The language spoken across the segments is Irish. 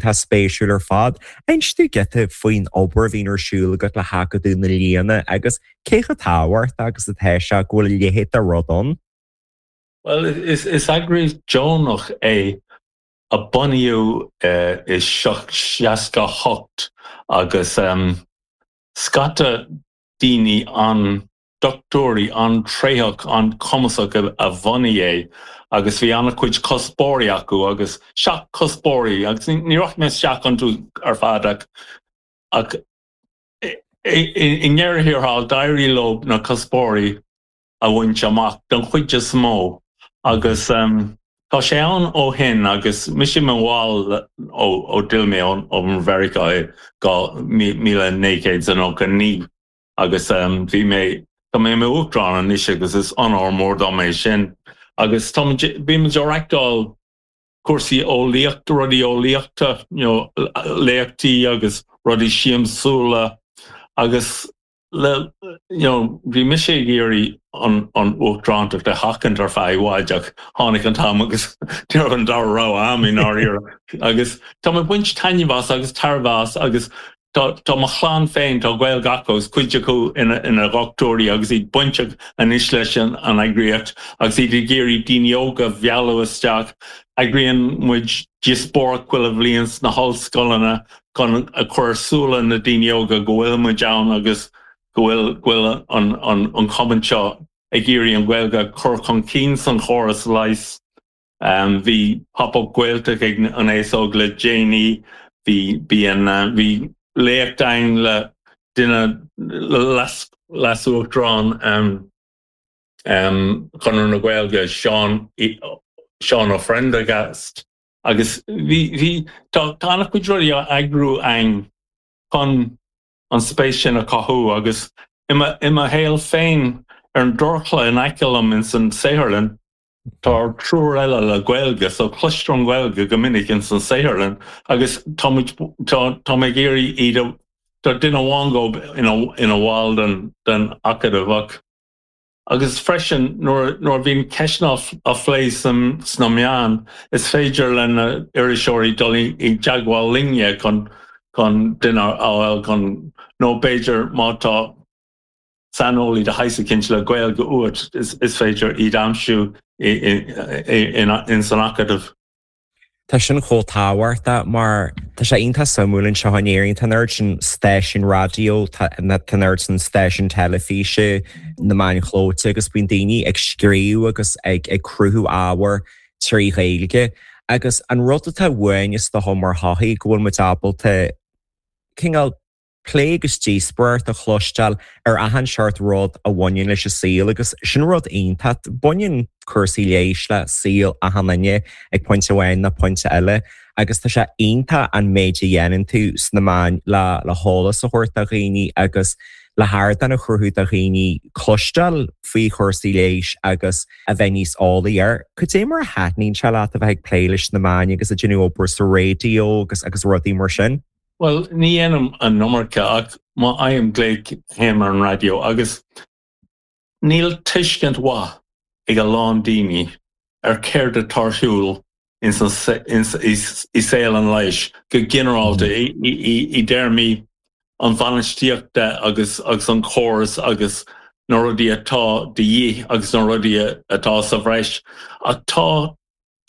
Iontach spéisiúil ar fad. Inis dúinn giota faoin obair a bhíonn ar siúl agat le hAcadamh na Lianna agus cé chomh tábhachtach agus atá sé go bhfuil a leithéid de rud ann. Bhuel, is eagraíocht deonach é a bunaíodh i 68 agus scata daoine an dochtúirí an-tréitheach, an-chumasach a bhunaigh é agus bhí an-chuid cuspóirí acu agus 7 cuspóirí agus ní rachaidh mé isteach iontu ar fad ach ach i ndeireadh thiar thall d'éirigh leo na cuspóirí a bhaint amach don chuid is mó agus tá sé ann ó shin agus mise i mo bhall ó ó d'fhill mé ó Mheiriceá i 1999. Agus bhí mé, tá mé i m'uachtarán anois agus is onóir mór dom é sin. Agus tá muid, bímid ag reachtáil cúrsaí eolaíochta, rudaí eolaíochta, you know, léachtaí agus rudaí siamsúla agus le, you know, bhí mise ag iarraidh an, an uachtarántacht a sheachaint ar feadh i bhfad ach tháinig an t-am agus ní raibh an dara rogha a'm i ndáiríre. Agus tá mé ag baint taitneamh as agus tairbhe as agus Tá tá mo chlann féin, tá Gaeilge acu agus cuid acu ina ina dhochtúirí agus iad bainteach anois leis an an eagraíocht agus iad ag iarraidh daoine óga a mhealladh isteach. Eagraíonn muid díospóireacht chuile bhliain sna hollscoileanna chun a chur ar súile na daoine óga go bhfuil muid ann agus go bhfuil go bhfuil an an an cumann seo ag iarraidh an Ghaeilge a chur chun cinn san chóras leighis. Bhí Pop Up Gaeltacht ag an Aos Óg le déanaí. Bhí bíonn bhí léacht ann le duine leas-uachtarán Chonradh na Gaeilge, Seán Seán Ó Prendergast agus bhí bhí tá tá an-chuid rudaí á eagrú againn chun an spéis sin a chothú agus i mo i mo shaol féin ar an dorchla in aice liom ins an saotharlann Tá triúr eile le Gaeilge so cloistear an Ghaeilge go minic ins an saotharlann agus tá muid, tá, tá mé ag iarraidh iad a, tá duine amháin dhób ina, ina bhall den, den Acadamh ach, agus freisin nuair, nuair a bhíonn ceisteanna á, á phlé san, sna meáin is féidir le na iriseoirí dul i, i dteagmháil linne chun, chun duine a fháil chun, nó b'fhéidir má tá. saineolaí de shaghas eicínt le Gaeilge uait, is féidir iad aimsiú ins an Acadamh. Tá sin chomh tábhachtach mar tá sé iontach suimiúil anseo in Éirinn, tá an oiread sin stáisiún raidió, tá an oiread sin stáisiún teilifíse, na meáin chlóite agus bíonn daoine ag scríobh agus ag cruthú ábhair trí Ghaeilge agus an rud atá uainn is dócha mar shochaí go bhfuil muid ábalta cineál plé agus díospóireacht a chloisteáil ar achan seort rud a bhaineann leis an saol agus sin rud iontach. Baineann cúrsaí leighis le saol achan duine ag pointe amháin nó pointe eile agus tá sé iontach an méid a dhéanann tú sna meáin le le heolas a thabhairt do dhaoine agus le hardán a chruthú do dhaoine cloisteáil faoi chúrsaí leighis agus a bheith níos eolaí air. Cad é mar a thaitníonn sé leat a bheith ag plé leis na meáin agus ag déanamh obair sa raidió agus agus rudaí mar sin? Bhuel, ní dhéanaim an iomarca ach má fhaighim glaoch téim ar an raidió agus níl tuiscint mhaith ag a lán daoine ar céard atá ar siúl ins an, i saol an leighis go ginearálta i dtéarmaí an bhainistíochta agus agus an chóras agus na rudaí atá de dhíth agus na rudaí atá sa bhreis ach tá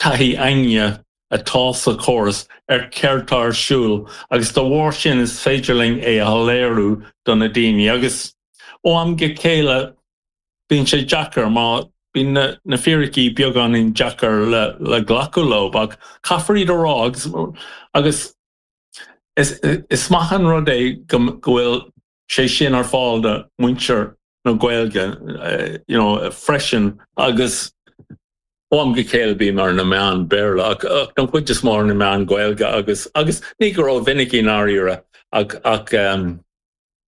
taithí againne atá sa chóras ar céard tá ar siúl agus dá bharr sin is féidir linn é a shoiléiriú do na daoine agus ó am go chéile bíonn sé deacair má bíonn na na fíricí beagáinín deacair le le glacadh leo ach caithfear iad a rá agus agus is is maith an rud é go go bhfuil sé sin ar fáil do mhuintir na Gaeilge you know freisin agus ó am go chéile bím ar na meáin Béarla ach ach don chuid is mó ar na meáin Gaeilge agus agus ní go rómhinic i ndáiríre ach ach um,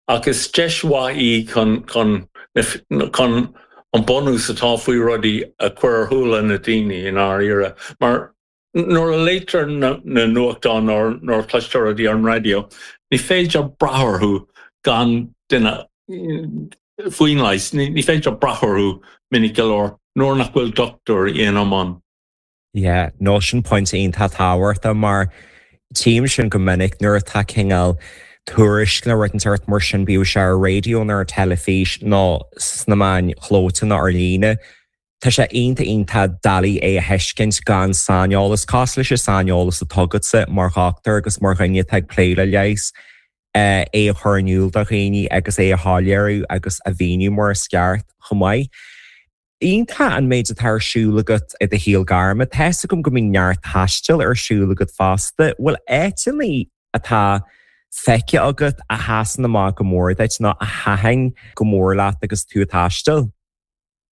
ach is deis mhaith í chun chun chun an bunús atá faoi rudaí a chur ar shúile na daoine i ndáiríre mar Nuair a léitear na nuachtáin nó nuair a chloistear rudaí ar an raidió, ní féidir brath orthu gan duine faoin leigheas. Ní féidir brath orthu minic go leor nuair nach bhfuil dochtúir ina mbun. Yeah, no sin pointe iontach tábhachtach mar. Tchím sin go minic nuair atá cineál tuairisc nó rud inteacht mar sin, bíodh sé ar raidió nó ar teilifís nó sna meáin chlóite nó ar líne. Tá sé iontach iontach doiligh é a thuiscint gan saineolas, cosúil leis an saineolas atá agatsa mar dhochtúir agus mar dhuine atá ag plé le leigheas, é a chur in iúl do dhaoine agus é a shoiléiriú agus a mhíniú mar is ceart chomh maith. Iontach an méid atá ar siúl agat i do shaol gairme. Tá's agam go mbíonn neart taistil ar siúl agat fosta. Bhfuil áiteanna atá feicthe agat a sheasann amach go mór duit nó a thaitin go mór leat agus tú ag taisteal?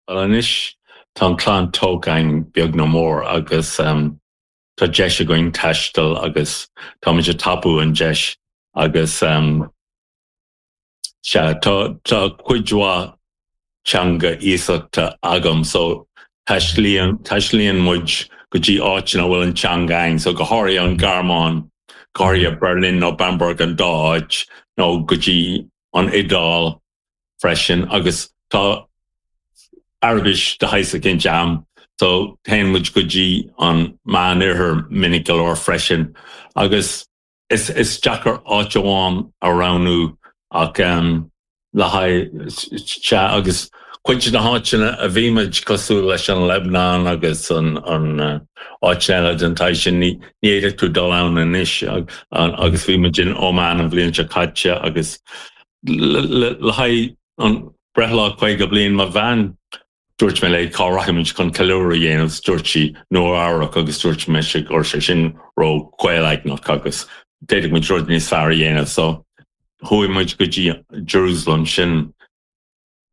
Bhuel anois tá an chlann tógtha againn beag nó mór agus tá deis againn taisteal agus táimid ag tapú an deis agus sea tá tá cuid mhaith teanga iasachta agam so taistlíonn taistlíonn muid go dtí áiteanna a bhfuil an teanga againn so go háirithe an Ghearmáin, go háirithe Berlin nó Bamberg an dá áit nó go dtí an Iodáil freisin agus tá Araibis de shaghas eicínt a'm so téann muid go dtí an Meánoirthear minic go leor freisin agus is is deacair áit amháin a roghnú ach le haghaidh sea agus cuid de na háiteanna a bhí muid cosúil leis an Lebanon agus an an áiteanna eile den tsaghas sin ní ní fhéadfadh tú dul ann anois agus bhí muid in Oman an bhliain seo caite agus Le haghaidh an breithlá 50 bliain mo bhean, dúirt mé léi cá rachaimid chun ceiliúradh a dhéanamh agus dúirt sí Nua Eabhrac agus dúirt mise go raibh sé sin ró chaolaighneach agus d'fhéadfadh muid rud níos fearr a dhéanamh so chuaigh muid go dtí Jerusalem sin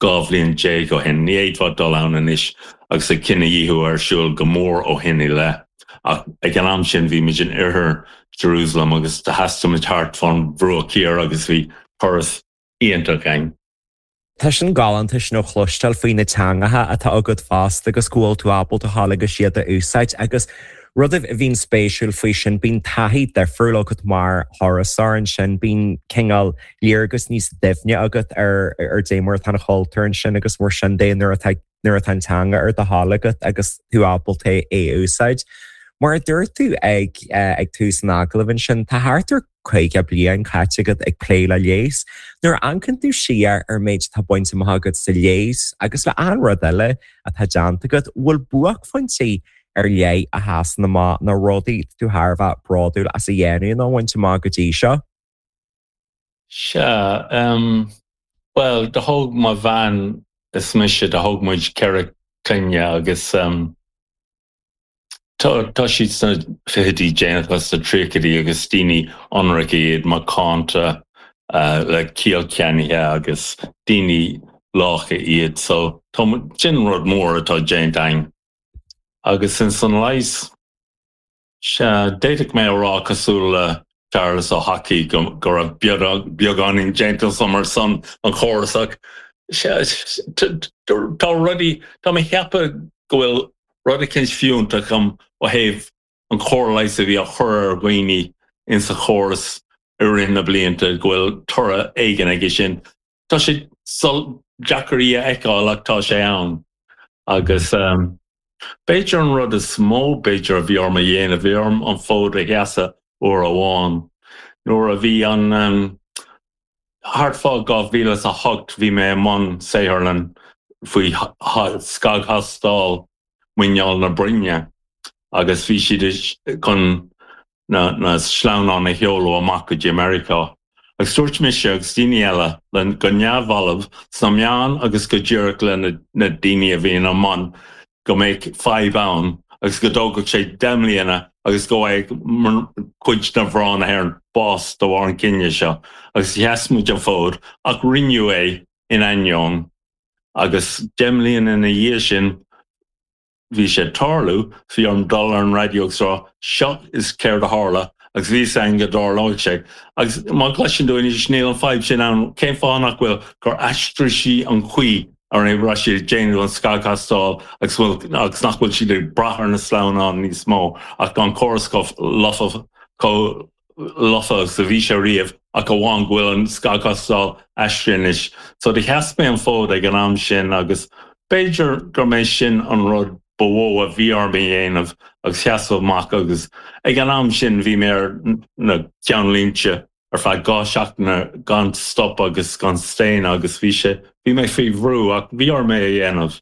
12 bhliain ó shin. Ní fhéadfá dul ann anois agus an cinedhíothú ar siúl go mór ó shin i leith. Ach ag an am sin bhí muid in oirthear Jerusalem agus do thaistil muid thart fán Bhruach Thiar agus bhí turas iontach againn. Tá sin galánta sin a chloisteáil faoi na teangacha atá agat fosta agus go bhfuil tú ábalta a ghabháil agus iad a úsáid agus rud a bhíonn spéisiúil faoi sin, bíonn taithí difriúil agat mar thurasóir ansin, bíonn cineál léargas níos doimhne agat ar ar dé mar atá an chultúr ansin agus mar sin de nuair atá nuair atá an teanga ar do thoil agat agus tú ábalta é a úsáid. Mar a dúirt tú ag ag tús an agallaimh ansin, tá thart ar 50 bliain caite agat ag plé le leigheas. Nuair a amharcann tú siar ar an méid atá bainte amach agat sa leigheas agus le achan rud eile atá déanta agat, bhfuil buaicphointí ar leith a sheasann amach nó rudaí tú thar a bheith bródúil as a dhéanamh nó a bhaint amach go dtí seo? Sea, bhuel, do thóg mo bhean is mise, do thóg muid 4 clainne agus tá, tá siad sna fichidí déanacha, sna tríochaidí agus daoine ionraice iad, macánta, le ciall ceannaithe agus daoine lácha iad so tá, sin rud mór atá déanta againn. Agus ins an leigheas, Sea, d'fhéadfadh mé a rá, cosúil le Séarlas Ó hEachaidh, go raibh beagáinín déanta agam ar son an chórais ach, sea, tá rudaí, tá mé ag ceapadh go bhfuil rud eicínt fiúntach agam ó thaobh an chóir leighis a bhí á chur ar dhaoine insa chóras i rith na blianta, go bhfuil toradh éigin aige sin. Tá sé deacair í a fheiceáil ach tá sé ann. Agus b'fhéidir an rud is mó b'fhéidir a bhí orm a dhéanamh, bhí orm an fód a sheasamh uair amháin. Nuair a bhí an, thart fá 2008 bhí mé i mbun saotharlann faoi scagthástáil muineál na broinne agus bhí siad chun na sleamhnáin a sheoladh amach go dtí Meiriceá. Agus dúirt mise agus daoine eile le go neamhbhalbh sna meáin agus go díreach le na daoine a bhí ina mbun go mbeadh fadhb ann agus go dtógfadh sé 10 mbliana agus go bhfaigheadh cuid de mhná na hÉireann bás de bharr an cinneadh seo. Agus sheas muid an fód ach rinneadh é in ainneoin agus 10 mbliana ina dhiaidh sin bhí sé ag tarlú, bhí orm dul ar an raidió agus rá seo is céard a tharla agus bhí fhios againn go dtarlóidh sé. Agus má chloiseann tú anois níl an fadhb sin ann, cén fáth nach bhfuil? Gur aistrigh sí an chaoi a raibh siad ag déanamh an scagthástáil agus bhfuil agus nach bhfuil siad ag brath ar na sleamhnáin níos mó ach tá an córas chomh lofa chomh lofa agus a bhí sé riamh ach amháin go bhfuil an scagthástáil aistrithe anois. So do sheas mé an fód ag an am sin agus b'fhéidir gur mé sin an rud. ba mhó a bhí orm a dhéanamh agus sheasamh amach agus ag an am sin bhí mé ar na ceannlínte ar feadh 2 seachtaine gan stop agus gan staonadh agus bhí sé, bhí mé faoi bhrú ach bhí orm é a dhéanamh.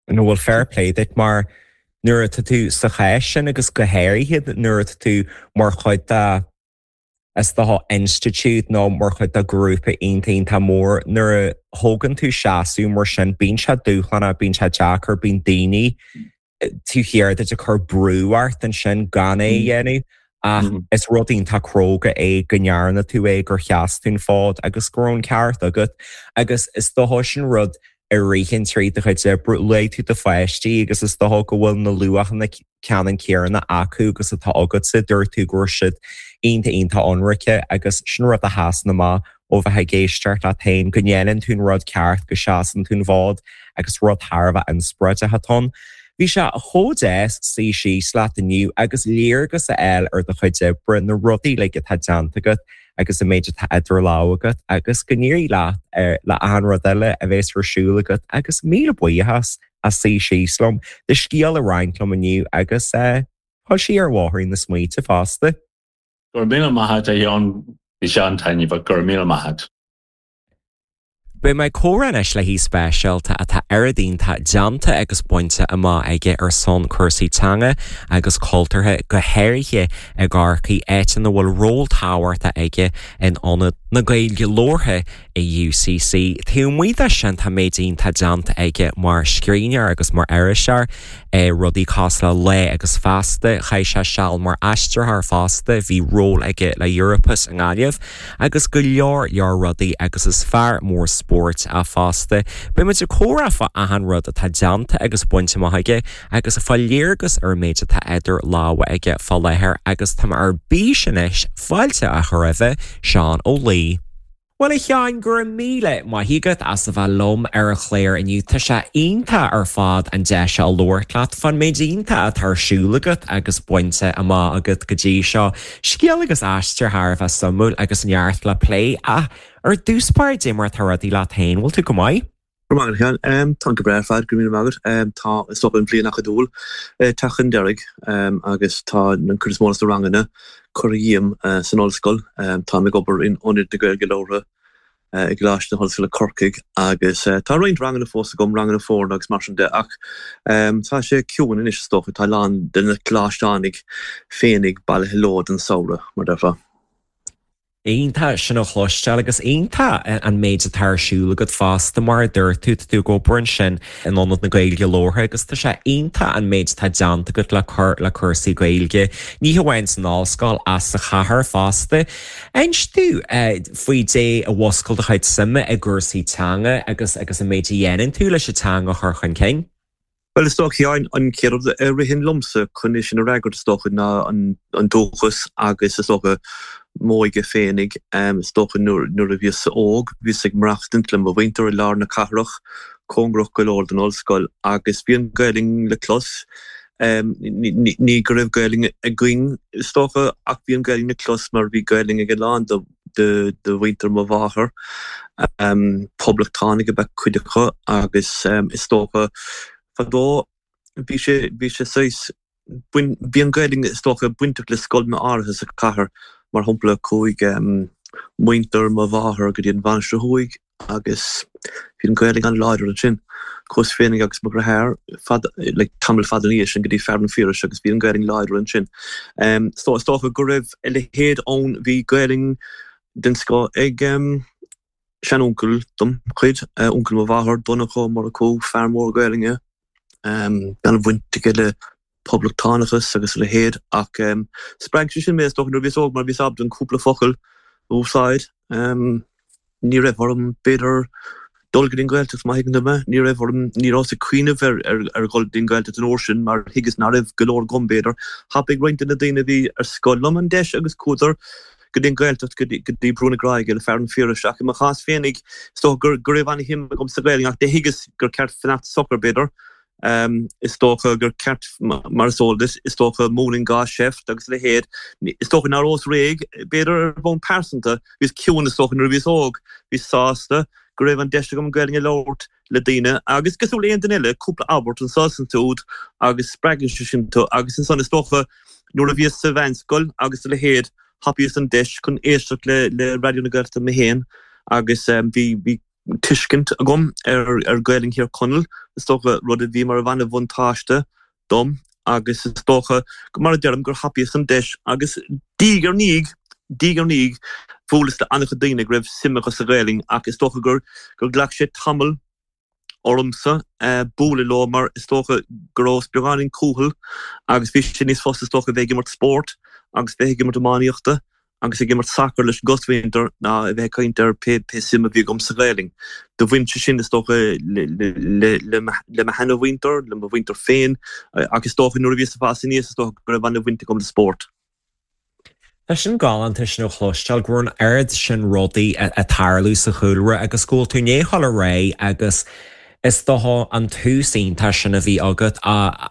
No bhuel fair play duit mar nuair atá tú sa chás sin agus go háirithe nuair atá tú mar chuid de is dócha institiúid nó mar chuid de ghrúpa iontach iontach mór nuair a thógann tú seasamh mar sin bíonn sé dúshlánach, bíonn sé deacair, bíonn daoine taobh thiar duit ag cur brú ort ansin gan é a dhéanamh ach is rud iontach cróga é go ndearna tú é, gur sheas tú an fód agus go raibh an ceart agat agus is dócha sin rud a ritheann trí do chuid oibre, luaigh tú do pháistí agus is dócha go bhfuil na luachanna ceannann céanna acu agus atá agatsa, dúirt tú go raibh siad iontach iontach ionraice agus sin rud a sheasann amach ó bheith ag éisteacht leat féin, go ndéanann tú an rud ceart, go seasann tú an fód agus rud thar a bheith inspioráideach atá ann. Bhí sé chomh deas suí síos leat inniu agus léargas a fháil ar do chuid oibre, na rudaí uilig atá déanta agat agus an méid atá idir lámha agat agus go n-éirí leat le achan rud eile a bheas ar siúl agat agus míle buíochas as suí síos liom, do scéal a roinnt liom inniu agus fáil siar ar bhóithrín na smaointe fosta. Go raibh míle maith agat, a Sheáin. Bhí sé an-taitneamhach. Go raibh míle maith agat. Beidh mé ag comhrá anois le haoi speisialta atá oiread iontach déanta agus bainte amach aige ar son cúrsaí teanga agus cultúrtha, go háirithe i gCorcaigh, áit ina bhfuil ról tábhachtach aige in Ionad na Gaeilge Labhartha i UCC. Taobh amuigh de sin tá méid iontach déanta aige mar scríbhneoir agus mar iriseoir, rudaí cosúil le Lá agus Feasta, chaith sé seal mar aistritheoir fosta, bhí ról aige le Europus i nGaillimh agus go leor leor rudaí agus is fear mór spóirt é fosta. Beidh muid ag comhrá fá achan rud atá déanta agus bainte amach aige agus ag fáil léargas ar an méid atá idir lámha aige fá láthair agus tá mé ar bís anois fáilte a chur roimhe, Seán Ó Laoi. Bhuel a Sheáin, go raibh míle maith agat as a bheith liom ar an chlár inniu. Tá sé iontach ar fad an deis seo a labhairt leat fán méid iontach atá ar siúl agat agus bainte amach agat go dtí seo. Scéal agus aistear thar a bheith suimiúil agus neart le plé. Ach ar dtús báire, dé mar atá rudaí leat féin, bhfuil tú go maith? Go raibh maith agat, a Sheáin. Táim go breá ar fad, go raibh míle maith agat. Tá, is dócha, an bhliain acadúil ag teacht chun deiridh agus tá an cuid is mó de na ranganna curtha dhíom san ollscoil. Táim ag obair in Ionad na Gaeilge Labhartha i gColáiste na hOllscoile Corcaigh agus tá roinnt ranganna fós agam, ranganna foirne agus mar sin de ach tá sé ciúin anois is dócha, tá a lán de na coláisteánaigh féinig bailithe leo don samhradh, mar a déarfá. Iontach sin a chloisteáil agus iontach an méid atá ar siúl agat fosta mar a dúirt tú, tá tú ag obair ansin in Ionad na Gaeilge Labhartha agus tá sé iontach an méid atá déanta agat le cur le cúrsaí Gaeilge, ní hamháin san ollscoil ach sa chathair fosta. Inis domh faoi dé a mhuscail do chuid suime i gcúrsaí teanga agus agus an méid a dhéanann tú leis an teanga a chur chun cinn. Bhuel, is dócha, a Sheáin, an chéad rud a ritheann liomsa chun é sin a fhreagairt, is dócha, ná an dúchas agus, is dócha, m'óige féinig. Is dócha, nuair a bhíos óg, bhíos ag maireachtaint le mo mhuintir i lár na cathrach, cóngarach go leor don ollscoil, agus bhí an Ghaelainn le clos. Ní go raibh Gaelainn againn, is dócha, ach bhí an Ghaelainn le clos mar bhí Gaelainn ag a lán de de mhuintir mo mháthar. Poblachtánaigh ab ea cuid acu agus is dócha fadó bhí sé, bhí sé saghas, bhí an Ghaelainn is dócha bainteach le scoileanna áirithe sa chathair, mar shampla chuaigh muintir mo mháthar go dtí an Mhainistir Thuaidh agus bhí an Ghaelainn an-láidir ansin. Chuas féinig agus mo dheartháir fad, like, tamall fada ina dhiaidh sin go dtí Fearann an Phiarais agus bhí an Ghaelainn láidir ansin. So is dócha go raibh a leithéid ann, bhí Gaelainn den scoth ag sean-uncail dem chuid, uncail mo mháthar, Donncha Ó Murchú, fear mór Gaelainne, an-bhaint aige le poblachtánachas agus a leithéid ach spreag sé sin mé is dócha nuair a bhíos óg mar bhíos ábalta an cúpla focal a úsáid. Ní raibh orm b'fhéidir dul go dtí an Ghaeltacht má thuigeann tú mé. Ní raibh orm, ní rabhas ag cuimhneamh ar ar dhul go dtí an Ghaeltacht an uair sin mar thuigeas nach raibh go leor agam b'fhéidir. Thapaigh roinnt de na daoine a bhí ar scoil liom an deis agus chuadar go dtí an Ghaeltacht go dtí Brú na Gráige le Fearann Phiarais ach i mo chás féinig is dócha go go raibh an-shuim agam sa Ghaelainn ach do thuigeas gur ceart fanacht socair b'fhéidir. Is dócha gur ceart, mar is eol duit, is dócha, múineann gá seift agus a leithéid. Is dócha nach rabhas réidh, b'fhéidir ar bhonn pearsanta. Bhíos ciúin, is dócha, nuair a bhíos óg. Bhíos sásta. go raibh an deis agam an Ghaelainn a labhairt le daoine agus cosúil le aon duine eile, cúpla abairt anso is ansiúd agus spreagann sé sin tú agus ansan is dócha nuair a bhíos sa mheánscoil agus a leithéid thapaíos an deis chun éisteacht le le Raidió na Gaeltachta mé féin agus bhí bhí tuiscint agam ar ar Ghaelainn Thír Chonaill is dócha rud a bhí mar an-bhuntáiste dom agus is dócha, mar a deirim, gur thapaíos an deis agus diaidh ar ndiaidh, diaidh ar ndiaidh, bhuaileas le an-chuid daoine go raibh suim acu sa Ghaelainn ach is dócha gur, gur ghlac sé tamall ormsa bualadh leo mar is dócha go rabhas beagáinín cúthail agus bhí sé níos fusa is dócha bheith ag imirt spóirt agus bheith ag imirt iománaíochta agus ag imirt sacair leis an gcosmhuintir ná a bheith ag caint ar pé suim a bhí agam sa Ghaelainn. Do bhain sé sin, is dócha, le mo sheanamhuintir, le mo mhuintir féin ach is dócha nuair a bhíos ag fás aníos, is dócha go raibh an-bhaint agam le spórt. Tá sin galánta sin a chloisteáil, go raibh an oiread sin rudaí ag tarlú sa chúlra agus go bhfuil tú i ndiaidh dhul ar aghaidh agus Is dócha an tús iontach sin a bhí agat a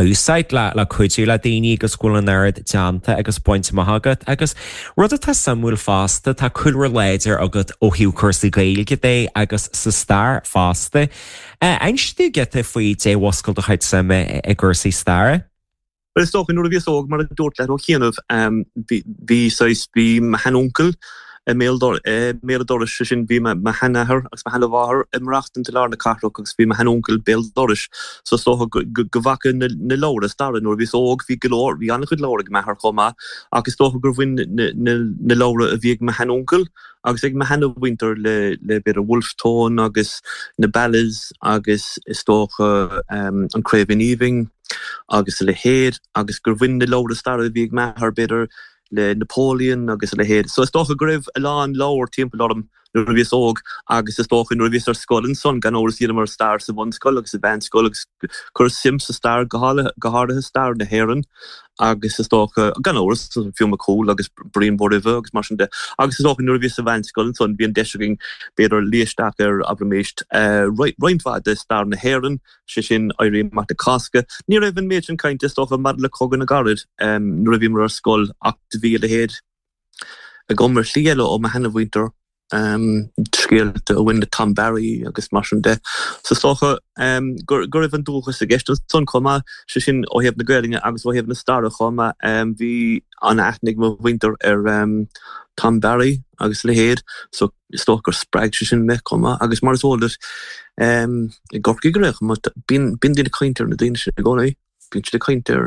úsáid le cuidiú le daoine agus go bhfuil an oiread déanta agus bainte amach agat. Agus rud atá suimiúil fosta, tá cúlra láidir agat ó thaobh cúrsaí Gaeilge de agus sa stair fosta. Inis dúinn giota faoi dé mhuscail do chuid suime i gcúrsaí staire. Bhuel, is dócha, nuair a bhíos óg, mar a dúrt leat ó chianaibh, bhí, bhí saghas, bhí mo sheanuncail i mbéal, i mbéal an dorais, sé sin, bhí mo sheanathair agus mo sheanamháthair ag maireachtaint i lár na cathrach agus bhí mo sheanuncail béal dorais, so is dócha go, go, go bhfaca na, na leabhra staire nuair a bhíos óg, bhí go leor, bhí an-chuid leabhar ag m'athair chomh maith ach is dócha gur bhain na, na, na leabhra a bhí ag mo sheanuncail agus ag mo sheanamhuintir le, le b'fhéidir Wolfe Tone agus na Ballads agus is dócha an Craoibhín Aoibhinn. agus a leithéid, agus gur bhain na leabhra staire a bhí ag m'athair, b'fhéidir, le Napoleon agus a leithéid. So is dócha go raibh a lán leabhar timpeall orm nuair a bhíos óg agus is dócha nuair a bhíos ar scoil ansan, gan amhras, dheineamar stair sa bhunscoil agus sa mheánscoil agus chuireas suim sa stair, go háirithe stair na hÉireann agus is dócha, gan amhras, Fionn Mac Cumhaill agus Brian Bóroimhe agus mar sin de. Agus is dócha nuair a bhíos sa mheánscoil ansan bhí an deis againn, b'fhéidir, luí isteach ar, abraimis, roinnt mhaith de stair na hÉireann, sé sin Éirí Amach na Cásca. Ní raibh an méid sin cainte, is dócha, maidir le Cogadh na gCarad nuair a bhíomar ar scoil ach do bhí a leithéid agam ar shlí eile ó mo sheanamhuintir, scéalta a bhain le Tom Barry agus mar sin de. So is dócha go raibh an dúchas i gceist ansan chomh maith, sé sin ó thaobh na Gaelainne agus ó thaobh na staire chomh maith. Bhí an-aithne ag mo mhuintir ar Tom Barry agus a leithéid so is dócha gur spreag sé sin mé chomh maith agus mar is eol duit i gCorcaigh ar aon chuma bíonn bíonn daoine ag caint ar na daoine sin i gcónaí. Bíonn siad ag caint ar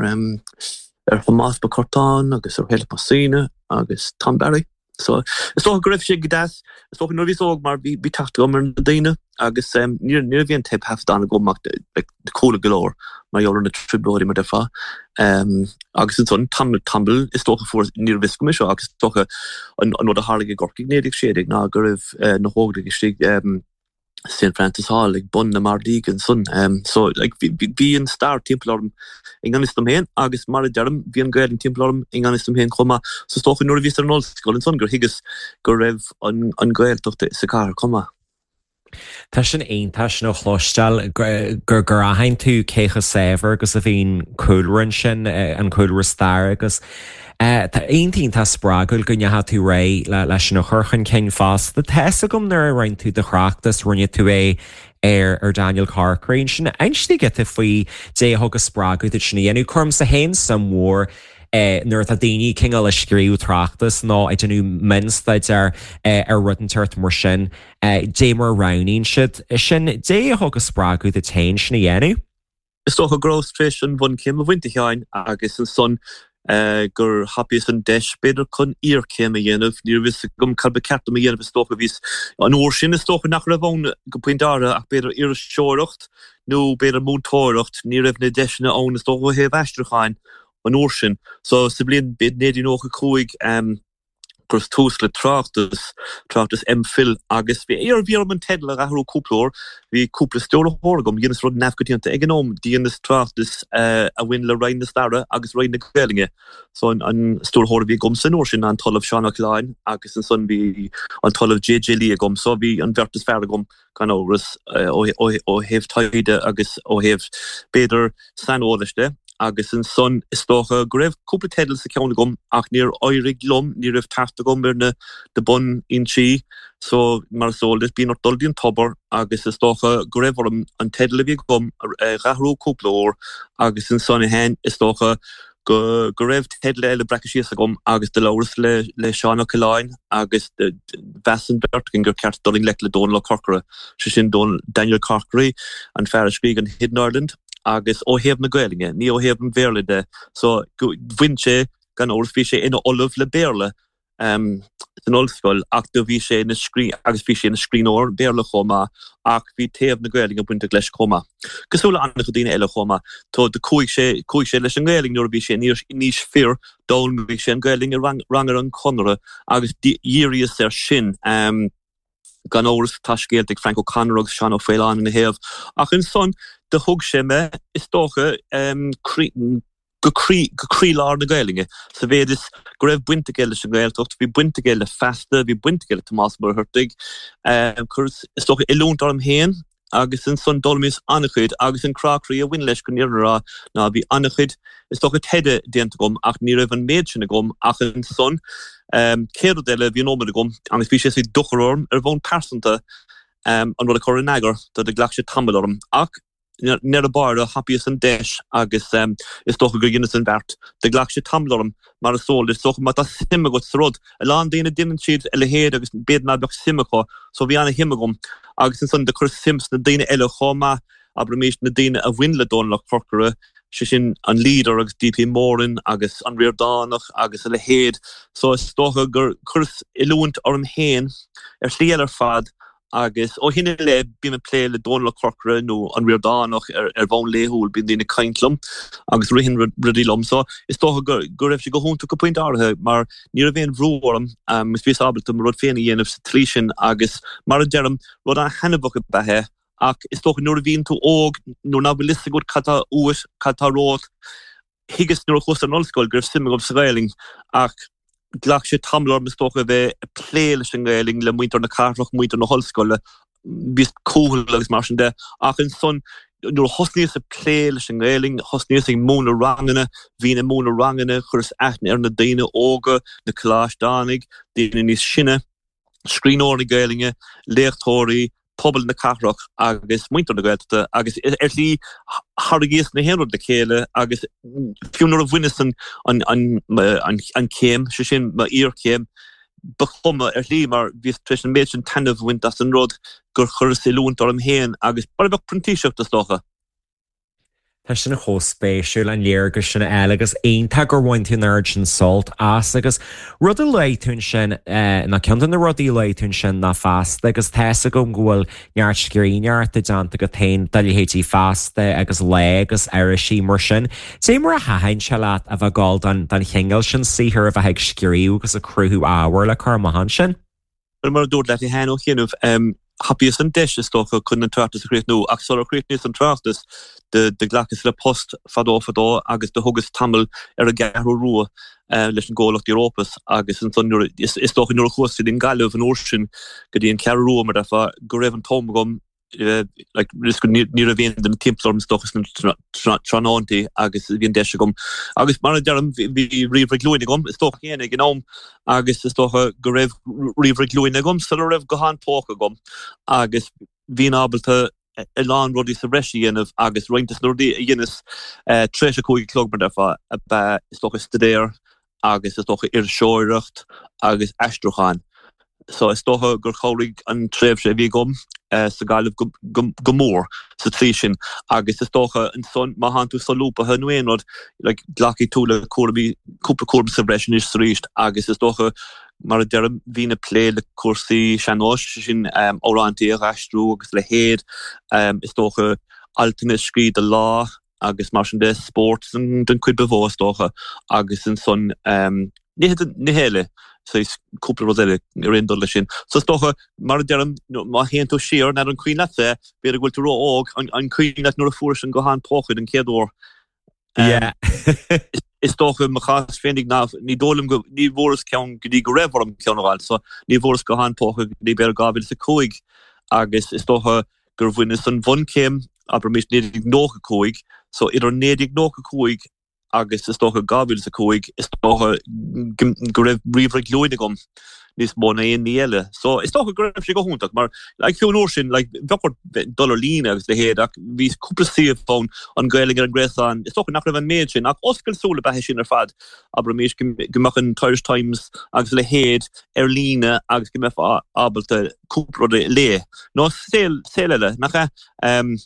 ar Thomás Mac Curtáin agus ar Shéarlas Mac Suibhne agus Tom Barry. So is dócha go raibh sé go deas, is dócha nuair a bhíos óg mar bhí bhí teacht agam ar na daoine agus ní ní raibh aon teipthaifeadán agam ach like chuala go leor mar gheall ar na trioblóidí mar déarfá. Agus ansan tamall tamall is dócha fuair ní raibh fhios agam é seo ach is dócha an an rud a tharlaigh i gCorcaigh 1916 ná go raibh na hÓglaigh istigh St Francis Hall ag bun na mbardaí ansan. So like bhí bhí an stair timpeall orm i ngan fhios dom féin agus mar a deirim bhí an Ghaelainn timpeall orm i ngan fhios dom féin chomh maith. So is dócha nuair a bhíos ar an ollscoil ansan gur thuigeas go raibh an an Ghaeltacht sa chathair chomh maith. Tá sin iontach sin a chloisteáil, gur gur aithin tú cé chomh saibhir agus a bhí an cúlra ansin, an cúlra staire agus tá iontach iontach spreagúil go ndeachaigh tú ar aghaidh leis sin a chur chun cinn fosta. Tá fhios agam nuair a rinne tú do thráchtas, rinne tú é ar ar Daniel Corkery ansin. Inis dúinn giota faoi dé a thug an spreagadh duit sin a dhéanamh. Cuirimse féin suim mhór nuair atá daoine cineál ag scríobh tráchtas nó ag déanamh mionstaidéar ar rud inteacht mar sin, dé mar a roghnaíonn siad sin, dé a thug an spreagadh duit féin sin a dhéanamh. Is dócha go rabhas tar éis an bhunchéim a bhaint, a Sheáin, agus ansan gur thapaíos an deis, b'fhéidir, chun iarchéim a dhéanamh. Ní raibh fhios agam cad ba cheart dom a dhéanamh, is dócha. Bhíos, an uair sin, is dócha nach raibh ann go pointe áirithe ach b'fhéidir iriseoireacht nó b'fhéidir múinteoireacht. Ní raibh na deiseanna ann, is dócha, ó thaobh aistriúcháin an uair sin. So, sa bhliain 1995, chuireas tús le tráchtas, tráchtas MPhil, agus bhí bhí orm an teideal a athrú cúpla uair. Bhí cúpla stiúrthóir agam, dheineas rud neamhchoitianta ag an am, dheineas tráchtas a bhain le Roinn na Staire agus Roinn na Gaelainne. So an an stiúrthóir a bhí agamsa an uair sin ná an tOllamh Seán Ó Coileáin agus ansan bhí an tOllamh J.J. Lee agam, so bhí an bheirt is fearr agam gan amhras, ó thaobh taighde agus ó thaobh, b'fhéidir, saineolais de. Agus ansan, is dócha go raibh cúpla teideal sa cheann agam ach níor éirigh liom, ní raibh teacht agam ar na bunfhoinsí. So, mar is eol duit, bíonn ort dul dtí an tobar agus is dócha go raibh orm an teideal a bhí agam a dh'athrú cúpla uair agus ansan, a Sheáin, is dócha go go raibh teideal eile breactha síos agam agus do labhras le le Seán Ó Coileáin agus mheas an bheirt againn gur ceart dul i ngleic le Dónal Ó Corcora, sé sin Daniel Corkery, an fear a scrígh an Hidden Ireland. agus ó thaobh na Gaelainne, ní ó thaobh an Bhéarla de. So, bhain sé, gan amhras, bhí sé ina ollamh le Béarla san ollscoil ach do bhí sé ina scrí, agus bhí sé ina scríbhneoir Béarla chomh maith ach bhí taobh na Gaelainne bainteach leis chomh maith. Cosúil le an-chuid daoine eile chomh maith. So, do chuaigh sé, chuaigh sé leis an nGaelainn nuair a bhí sé in aois fir, d'fhoghlaimigh sé an Ghaelainn i rang, ranganna an Chonartha agus dhíríos air sin. Gan amhras, tá scéalta ag Frank O'Connor agus Seán Ó Faoláin ina thaobh. Ach ansan, do thug sé mé, is dócha, go croílár na Gaelainne, sa mhéid is go raibh baint aige leis an nGaeltacht, bhí baint aige le Feasta, bhí baint aige le Tomás Ó Muircheartaigh. Chuireas, is dócha, oiliúint orm féin agus ansan d'fhoghlaimíos an-chuid agus an crá croí a bhain leis chun an fhírinne a rá ná bhí an-chuid is dócha taighde déanta agam ach ní raibh an méid sin agam ach ansan céad rud eile bhí an iomad agam agus bhí sé saghas dochar orm ar bhonn pearsanta an rud a chur in eagar do do ghlac sé tamall orm ach i ndeireadh báire thapaíos an deis agus is dócha gur dheineas an bheart. Do ghlac sé tamall orm mar is eol duit, is dócha má tá suim agat sa rud. A lán daoine déanann siad a leithéid agus b'fhéidir ná beadh suim acu, so bhí ana-shuim agam agus ansan do chuireas suim sna daoine eile chomh maith, abraimis na daoine a bhain le Dónal Ó Corcora, sé sin an Leader agus D.P. Moran agus an Ríordánach agus a leithéid. So is dócha gur chuireas oiliúint orm féin ar shlí eile ar fad Agus ó shin i leith, bím ag plé le Dónal Ó Corcora nó an Ríordánach ar bhonn laethúil, bíonn daoine ag caint liom agus ritheann rudaí liom. So, is dócha go raibh sé go hiontach go pointe áirithe mar ní raibh aon bhrú orm agus bhíos ábalta mo rud féin a dhéanamh sa tslí sin agus mar a deirim, rud an-thaitneamhach ab ea é ach is dócha nuair a bhíonn tú óg, nuair nach bhfuil fhios agat cad tá uait, cad tá romhat, Thuigeas nuair a chuas ar an ollscoil go raibh suim agam sa Ghaelainn ach ghlac sé tamall orm is dócha a bheith ag plé leis an nGaelainn le muintir na cathrach, muintir na hollscoile, bhíos cúthail agus mar sin de. Ach ansan nuair a thosnaíos ag plé leis an nGaelainn, thosnaíos ag múineadh ranganna, bhínn ag múineadh ranganna, chuireas aithne ar na daoine óga, na coláisteánaigh, daoine níos sine. scríbhneoirí Gaelainne, léachtóirí, pobal na cathrach agus muintir na Gaeltachta agus ar shlí tharraingíos na haon rud le chéile agus fiú nuair a bhaineas an an chéim, sé sin m'iarchéim, ba chuma ar shlí mar bhíos tar éis an méid sin taitneamh a bhaint as an rud gur chuireas oiliúint orm féin agus mar a bheadh printíseacht is dócha. Tá sin chomh spéisiúil, an léargas sin a fháil agus iontach gur bhain tú an oiread sin sult as agus rud a luaigh tú ansin, nó ceann de na rudaí a luaigh tú ansin ná Feasta agus tá fhios agam go bhfuil neart scríbhneoireachta déanta agat féin do leithéidí Feasta agus Lá agus irisí mar sin. Cad é mar a thaitin sé leat a bheith ag gabháil don don chineál sin saothair a bheith ag scríobh agus ag cruthú ábhair le cur amach ansin? Mar a dúrt leat cheana ó chianaibh, thapaíos an deis, is dócha, chun an tráchtas a chríochnú, ach sular chríochnaíos an tráchtas, do ghlacas le post fadó fadó agus do thugas tamall ar an gCeathrú Rua leis an gcomhlacht Europus agus ansan nuair, is dócha nuair a chuas go dtí an Ghaillimh an uair sin, go dtí an Cheathrú Rua mar a déarfá, go raibh an t-am agam like ní raibh aon duine timpeall orm is dócha sna tráthnóntaí agus bhí an deis agam. Agus mar a deirim, bhí ríomhaire glúine agam is dócha féin ag an am agus is dócha go raibh ríomhaire glúine agam sula raibh guthán póca agam agus bhínn ábalta a lán rudaí sa bhreis a dhéanamh agus roinnt des na rudaí a dheineas tar éis a 5 a chlog mar a déarfá ab ea is dócha staidéar agus is dócha iriseoireacht agus aistriúchán. So is dócha gur chabhraigh an tréimhse a bhí agam sa Ghaillimh go mór sa tslí sin agus is dócha ansan má thánn tú solúbtha nó aon rud like glacfaidh tú le cúraimí, cúpla cúram sa bhreis anois is arís agus is dócha mar a deirim bhínn ag plé le cúrsaí sean-nóis, sé sin amhráintí a dh'aistriú agus a leithéid, is dócha altanna a scríobh do Lá agus mar sin de, spórt den chuid ba mhó is dócha, agus ansan nithe nithe eile, saghas cúpla rud eile ar aon dul leis sin. So is dócha, mar a deirim, má théann tú siar, n'fheadar an cuimhin leatsa é, b'fhéidir go bhfuil tú ró-óg, an cuimhin leat nuair a fuairis an guthán póca den chéad uair? Yeah. Is dócha, i mo chás féinig ná ní dóigh liom go, ní bhfuaireas ceann go dtí go raibh orm ceann a fháil, so ní bhfuaireas guthán póca go dtí b'fhéidir 2005 agus is dócha gur bhaineas an bhunchéim, abraimis 1995. So idir 1995 agus is dócha 2005 is dócha go raibh ríomhaire glúine agam níos mó ná aon ní eile. So is dócha go raibh sé go hiontach mar like fiú an uair sin like bheadh ort dul ar líne agus a leithéid ach bhí cúpla suíomh ann an Ghaeilge ar an nGréasán is dócha nach raibh an méid sin ach oscailt súl ab ea é sin ar fad abraimis go mbeadh an Irish Times agus a leithéid ar líne agus go mbeifeá ábalta cúpla rud a léamh nó saol saol eile nach ea?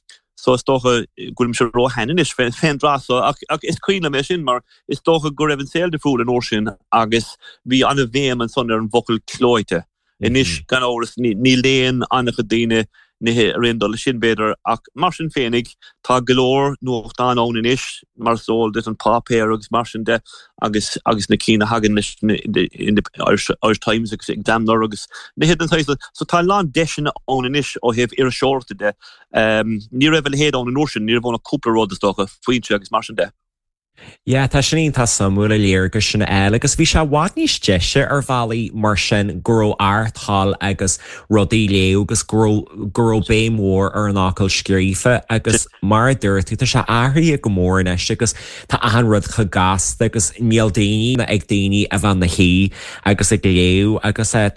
So is dócha go bhfuilimse róshean anois fén dtráth so ach ach is cuimhin liom é sin mar is dócha go raibh an saol difriúil an uair sin agus bhí an-bhéim ansan ar an bhfocal clóite. Anois gan amhras ní léann an-chuid daoine nithe ar aon dul leis sin b'fhéidir ach mar sin féinig tá go leor nuachtán ann anois mar is eol duit an páipéar agus mar sin de agus agus na cinn a thagann leis na Irish Irish Times agus Examiner agus nithe den saghas so tá a lán deiseanna ann anois ó thaobh iriseoireachta de Ní raibh a leithéid ann an uair sin, ní raibh ann ach cúpla rud, is dócha, Foinse agus mar sin de. Yeah, tá sin iontach suimiúil an léargas sin a fháil agus bhí sé i bhfad níos deise ar bhealaí mar sin go raibh ardtoil agus rudaí a léamh agus go raibh go raibh béim mhór ar an fhocal scríofa agus mar a dúirt tú tá sé athraithe go mór anois agus tá achan rud chomh gasta agus níl daoine ag daoine a bheith ina shuí agus ag léamh agus tá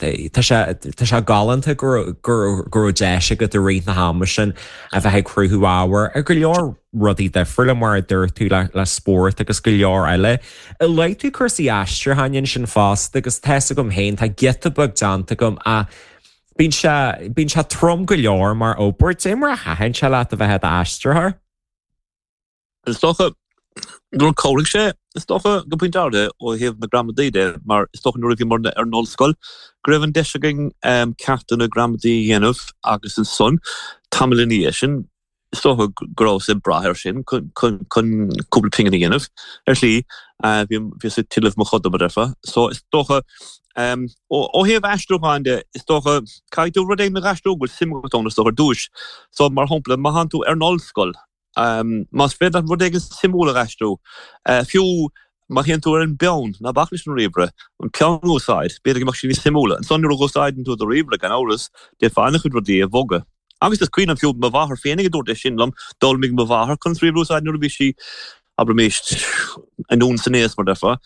sé tá sé galánta go go go raibh deis agat i rith na hama sin a bheith ag cruthú ábhair ar go leor rudaí difriúla mar a dúirt tú le le spórt agus go leor eile. Luaigh tú cúrsaí aistriúcháin ansin fosta agus tá fhios agam féin tá giota beag déanta agam ach bíonn sé bíonn sé trom go leor mar obair. Cad é mar a thaitin sé leat a bheith i d'aistritheoir? Is dócha gur chabhraigh sé, is dócha, go pointe áirithe ó thaobh na gramadaí de mar is dócha nuair a bhíomar ar an ollscoil go raibh an deis againn ceachtanna gramadaí a dhéanamh agus ansan tamall ina dhiaidh sin is dócha go rabhas ag brath air sin chun cúpla pingin a dhéanamh ar shlí. Bhíos ag tuilleamh mo choda, mar a déarfá. So is dócha ó thaobh aistriúcháin de, is dócha caithfidh tú rud éigin a aistriú go bhfuil suim agat ann is dócha ar dtúis. So mar shampla má thánn tú ar an ollscoil, Más féidir leat rud éigin suimiúil a aistriú, fiú má théann tú ar an bpeann, ná bac leis an ríomhaire, an peann a úsáid, b'fhéidir go mbeadh sé níos suimiúla. Ansan nuair a úsáideann tú do ríomhaire, gan amhras, d'fhéadfá an-chuid rudaí a bhogadh. Agus is cuimhin liom fiú mo mháthair féinig a dúirt é sin liom, d'fhoghlaimigh mo mháthair conas ríomhaire a úsáid nuair a bhí sí, abraimis, anonn san aos, mar déarfá.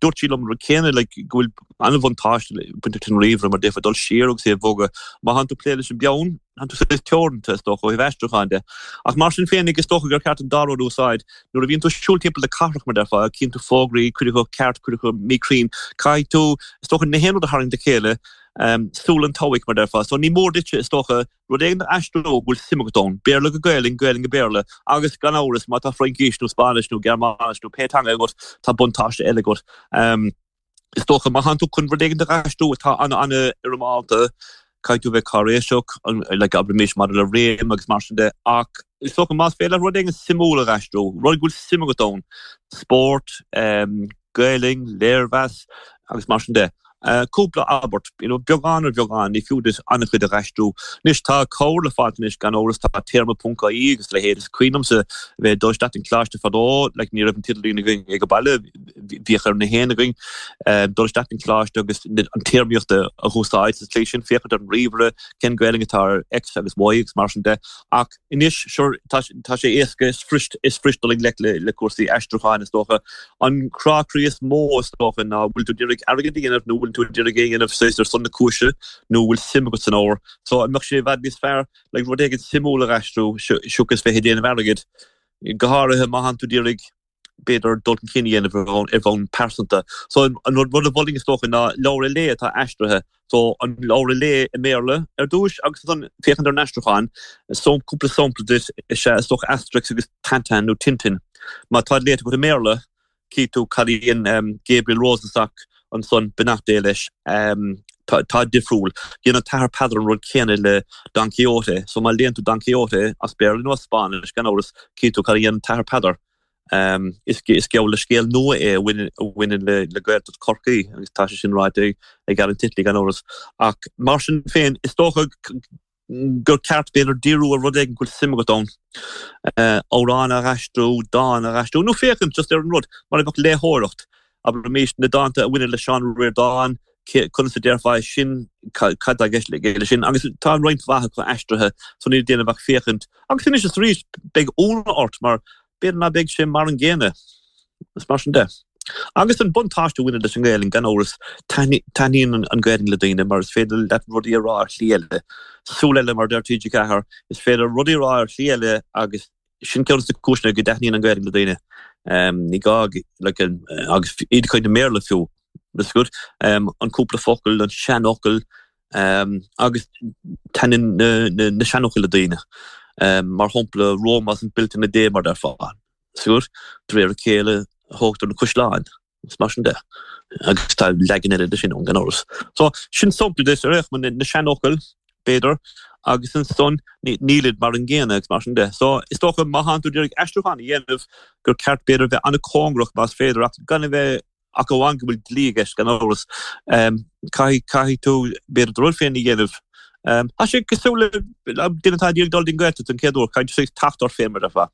Dúirt sí liom an rud céanna, like, go bhfuil an-bhuntáiste bainteach leis an ríomhaire mar d'fhéadfá dul siar agus é a bhogadh. Má thánn tú ag plé leis an bpeann, Tá tú saghas teoranta, is dócha, ó thaobh aistriúcháin de. Ach mar sin féinig, is dócha gur ceart an dá rud a úsáid. Nuair a bhíonn tú ag siúl timpeall na cathrach, mar déarfá, cíonn tú fógraí, cuid acu ceart, cuid acu míchruinn. Caithfidh tú, is dócha, na haon rud a tharraingt le chéile, súil an tseabhaic, mar déarfá. So ní mór duitse, is dócha, rud éigin a aistriú go bhfuil suim agat ann, Béarla go Gaelainn, Gaelainn go Béarla, agus gan amhras, má tá Fraincis nó Spáinnis nó Gearmáinis nó pé teanga agat, tá buntáiste eile agat. Is dócha, má thánn tú chun rud éigin a aistriú atá an-an-fhoirmeálta, caithfidh tú a bheith cáiréiseach, like, abraimis, maidir le réim agus mar sin de, ach is dócha, más féidir leat rud éigin suimiúil a aistriú, rud go bhfuil suim agat ann, spórt, Gaelainn, léirmheas agus mar sin de, cúpla abairt, you know, beagán ar bheagán, ní fiú duit an-chuid a aistriú. Anois, tá cabhair le fáilt anois, gan amhras, tá téarma ponc ie agus a leithéid. Is cuimhin liomsa a bheith ag dul isteach don choláiste fadó, like, ní raibh an t-idirlíon againn ag an baile, bhíodh ar na haon againn dul isteach don choláiste agus an téarmaíocht a úsáid sa tslí sin, féachaint ar an ríomhaire, cén Gaelainn atá ar X agus Y agus mar sin de. Ach anois, sure, tá sé éasca, is fuirist, is fuirist dul i ngleic le cúrsaí aistriúcháin, is dócha. An crá croí is mó, is dócha, ná bhfuil tú ag iarraidh airgead a dhéanamh nó bhfuil tú ag iarraidh é a dhéanamh saghas ar son na cúise nó bhfuil suim agat san ábhar. So, an mbeadh sé i bhfad níos fearr, like, rud éigin suimiúil a aistriú seachas bheith ag déanamh airgid, go háirithe má thánn tú ag iarraidh b'fhéidir, dul chun cinn a dhéanamh ar bhonn pearsanta. So an rud a mholfainn is dócha ná leabhar a léamh atá aistrithe. So an leabhar a léamh i mBéarla ar dtúis agus ansan féachaint ar an aistriúchán. So cúpla sampla duit is ea is dócha Asterix agus Tintin nó Tintin. Má tá léite agat i mBéarla, cífidh tú cad a dhein Gabriel Rosenstock ansan, beannacht Dé leis. Tá tá difriúil. Dhein an tAthair Peadar an rud céanna le Don Quixote. So má léann tú Don Quixote as Béarla nó as Spáinnis, gan amhras, cífidh tú cad a dhein an tAthair Peadar. Is geall le scéal nua é a bhaineann le Gaeltacht Chorcaí agus tá sé sin ráite ag Alan Titley gan amhras. Ach mar sin féin, is dócha gur ceart b'fhéidir díriú ar rud éigin go bhfuil suim agat ann, amhrán a aistriú, dán a aistriú nó féachaint just ar an rud mar a bheadh léitheoireacht. Abraimis na dánta a bhaineann le Seán Ó Ríordáin, conas a déarfá é sin, cad tá i gceist leis sin, agus tá roinnt mhaith acu aistrithe so níl le déanamh ach féachaint. Agus anois is arís beidh ionadh ort mar. B'fhéidir ná beidh sé mar an gcéanna, is mar sin de. Agus an buntáiste a bhaineann leis an nGaelainn, gan amhras, taitníonn an Ghaelainn le daoine mar is féidir leat rudaí a rá ar shlí eile. Súil eile, mar a deir TG4, is féidir rudaí a rá ar shlí eile agus sin ceann de na cúiseanna go dtaitníonn an Ghaelainn le daoine. Ní gá, like, agus iad ag caint i mBéarla fiú, is good, an cúpla focal, an seanfhocal, Agus taitníonn na seanfhocail le daoine. Mar shampla, Rome wasn't built in a day, mar déarfá. Siúr, de réir a chéile a thógtar na caisleáin, is mar sin de. Agus tá leagan eile de sin ann, gan amhras. So, sin sampla de, ar aon chuma, na seanfhocail, b'fhéidir, agus ansan nílid mar an gcéanna agus mar sin de. So, is dócha, má thánn tú ag iarraidh aistriúchán a dhéanamh, gur ceart, b'fhéidir, bheith an-chóngarach más féidir, ach gan a bheith Ach amháin go bhfuil dlí i gceist, gan amhras. Caithfidh, caithfidh tú, b'fhéidir, do rud féin a dhéanamh. Tá sé cosúil le duine atá ag iarraidh dul dtí an Ghaeltacht an chéad uair, caithfidh tú teacht ort féin, mar a déarfá.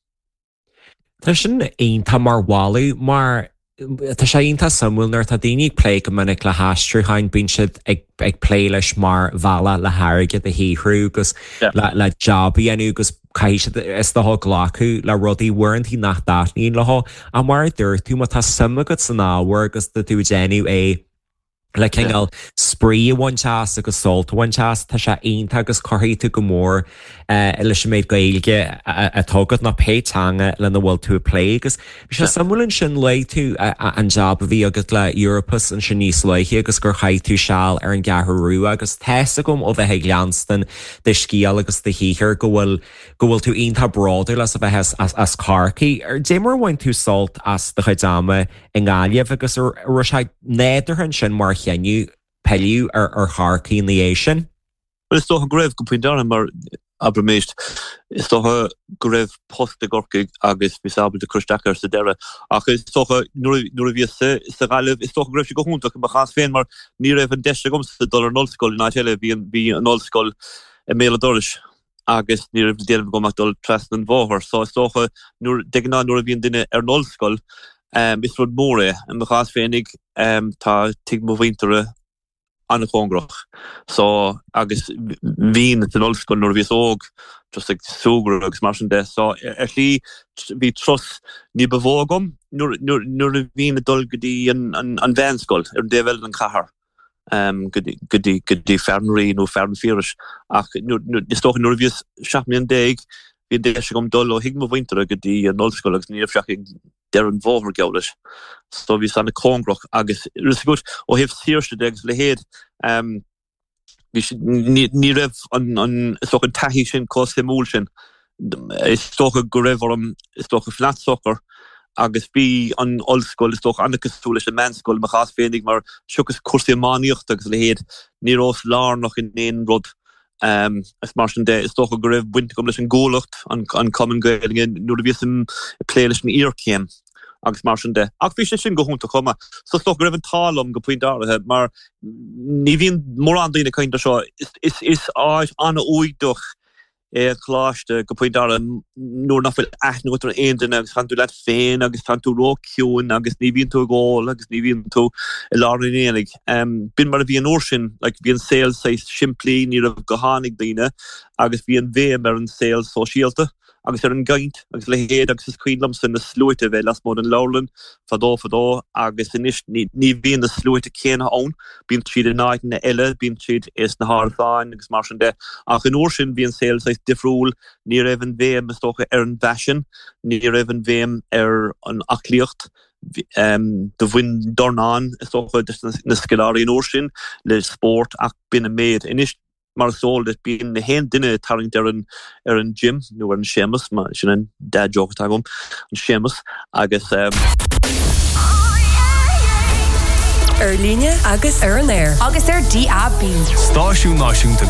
Tá sin iontach mar mholadh, mar tá sé iontach suimiúil nuair atá daoine ag plé go minic le haistriúcháin, bíonn siad ag ag plé leis mar bhealach le hairgead a shaothrú agus le job a dhéanamh agus caithfidh siad is dócha glacadh le rudaí uaireanta nach dtaitníonn leo. Ach mar a dúirt tú, má tá suim agat san ábhar agus tá tú ag déanamh é le cineál spraoi a bhaint as agus sult a bhaint as, tá sé iontach agus cuirfidh tú go mór leis an méid Gaeilge atá agat nó pé teanga lena bhfuil tú ag plé. Agus bhí sé suimiúil ansin, luaigh tú an jab a bhí agat le Europus ansin níos luaithe agus gur chaith tú seal ar an gCeathrú Rua agus tá's agam ó bheith ag leanstan do scéal agus do shaothar go bhfuil go bhfuil tú iontach bródúil as a bheith as Corcaigh. Dé mar a bhain tú sult as do chuid ama i nGaillimh agus an raibh sé nádúrtha ansin mar chinneadh pilleadh ar Chorcaigh ina dhiaidh sin? Bhuel, is dócha go raibh, go pointe áirithe, mar, abraimis, is dócha go raibh post i gCorcaigh agus bhíos ábalta cur isteach air sa deireadh. Ach is dócha, nuair a bhíos sa Ghaillimh, is dócha go raibh sé go hiontach i mo chás féin mar ní raibh an deis agamsa dul ar an ollscoil in áit eile, bhí an, bhí an ollscoil i mbéal an dorais agus ní raibh le déanamh agam ach dul trasna an bhóthair. So is dócha, nuair, de ghnáth nuair a bhíonn duine ar an ollscoil, is rud mór é. I mo chás féinig, tá tigh mo mhuintire, an-chóngarach. So, agus bhínn san ollscoil nuair a bhíos óg, just ag súgradh agus mar sin de. So, ar shlí, bhí turas ní ba mhó agam nuair, nuair, nuair a bhínn ag dul go dtí an, an, an mheánscoil ar an dtaobh eile den chathair, go dtí, go dtí, go dtí Fearann Rí nó Fearann Phiarais. Ach nuair, nuair, is dócha nuair a bhíos 17 mbliana, bhí an deis agam dul ó thigh mo mhuintire go dtí an ollscoil agus ní raibh sé ach ag deireadh an bhóthair, geall leis. So bhíos an-cóngarach agus is good ó thaobh saoirse de agus a leithéid, bhí sé, ní, ní raibh an, an, is dócha an taithí sin chomh suimiúil sin. Is dócha go raibh orm, is dócha, fanacht socair agus bhí an ollscoil, is dócha, an-cosúil leis an meánscoil i mo chás féinig mar seachas cúrsaí iománaíochta agus a leithéid, ní rabhas lárnach in aon rud. Is mar sin de, is dócha go raibh baint agam leis an gCuallacht, an Cumann Gaelainne, nuair a bhíos ag plé leis an iarchéim agus mar sin de. Ach bhí sé sin go hiontach chomh maith. So is dócha go raibh an t-ádh liom go pointe áirithe mar ní bhíonn mórán daoine ag caint air seo. Is áit an-fhuadach é an coláiste go pointe áirithe nuair nach bhfuil aithne agat ar aon duine agus tánn tú leat féin agus tánn tú ró-chiúin agus ní bhíonn tú ag ól agus ní bhíonn tú i lár an aonaigh. B'in mar a bhí an uair sin, like bhí an saol saghas simplí, ní raibh gutháin ag daoine agus bhí an bhéim ar an saol sóisialta agus ar an gcaint agus a leithéid agus is cuimhin liomsa na sluaite a bheith lasmuigh den leabharlann fadó fadó agus anois ní ní bhíonn na sluaite céanna ann, bíonn siad in áiteanna eile, bíonn siad sna hárasáin agus mar sin de ach an uair sin bhí an saol saghas difriúil, ní raibh an bhéim is dócha ar an bhfaisean, ní raibh an bhéim ar an aclaíocht. Do bhain dornán, is dócha, de na scoláirí an uair sin le spórt ach b'in an méid. Anois, mar is eol duit, bíonn na haon duine ag tarraingt ar an ar an gym nó ar an Séamus, sin an dad joke atá agam, an Séamus, agus. Ar líne agus ar an aer. Agus ar DAB. Stáisiún Náisiúnta.